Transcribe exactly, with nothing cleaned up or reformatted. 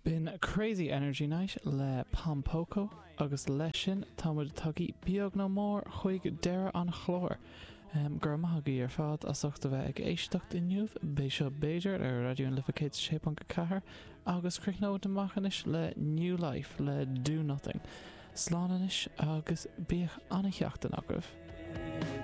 B'in Crazy Energy Night le Pompoko agus leis sin táimid tagtha beag nó mór chuig deireadh an chláir. Um, Gur maithagaí ar fad as ucht a bheith ag éisteacht inniu b'é seo b'fhéidir ar Raidió na Life céad sé ponc a ceathair agus críochnóidh amach anois le New Life le Do Nothing. Slán anois agus bíodh an-seachtain agaibh.